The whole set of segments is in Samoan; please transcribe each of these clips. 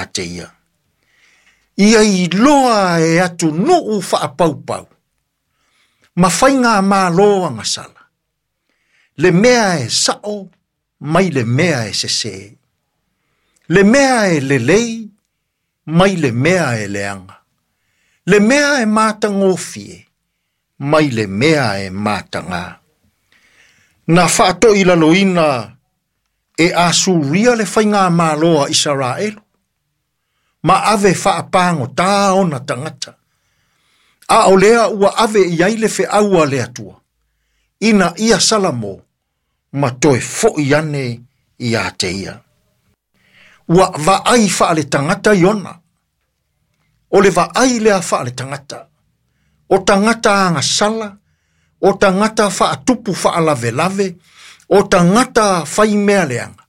ia te ia. Ia iloa e atunuu faapaupau ma faigamalo agasala, le mea e sa'o mai le mea e sesē, le mea e lelei mai le mea e leaga, le mea e matagofie mai le mea e matagā. Na faatoilaloina e Asuria le faigamalo a Isaraelu, ma ave faapagotā ona tagata, a o lea ua ave i ai le feau a le Atua, ina ia Salamo ma toe fo'i ane ia te ia. Ua vaai faaletagata Iona, o le vaai lea faaletagata, o tagata agasala, o tagata faatupu faalavelave, o tagata faimea leaga,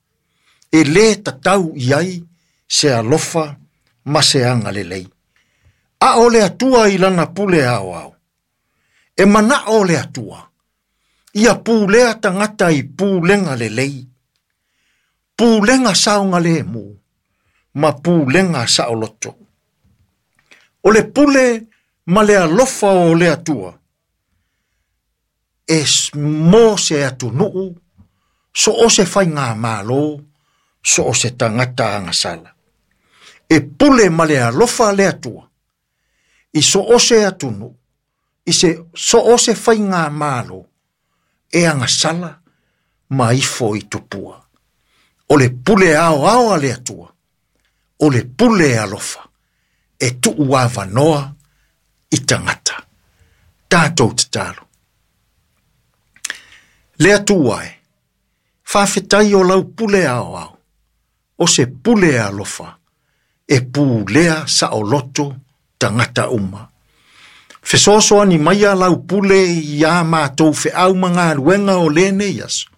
e lē tatau i ai se alofa ma se agalelei. A o le Atua i lana pule aoao, e manao le Atua, ia pulea tagata i pulega lelei, pulega saogalemu, ma pulega saoloto. O le pule ma le alofa o le Atua, e mo se atunuu, so o se faigamalo, so o se tagata agasala. E pule ma le alofa le Atua, i so o se atunuu, i se so o se faigamalo, e agasala ma ifo i tupua. O le pule aoao a le Atua, o le pule alofa, e tuu avanoa i tagata. Tatou tatalo. Le Atua e, faafetai o lau pule aoao, o se pule alofa, e pulea saoloto tagata uma. Fesoasoani maia lau pule iā matou feau ma galuega o lenei aso,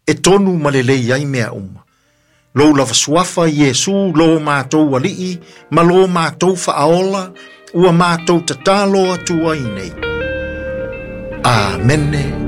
e tonu ma lelei ai mea uma. Lou lava suafa Iesu lo matou Alii ma lo matou Faaola, ua matou tatalo atu ai nei. Amene.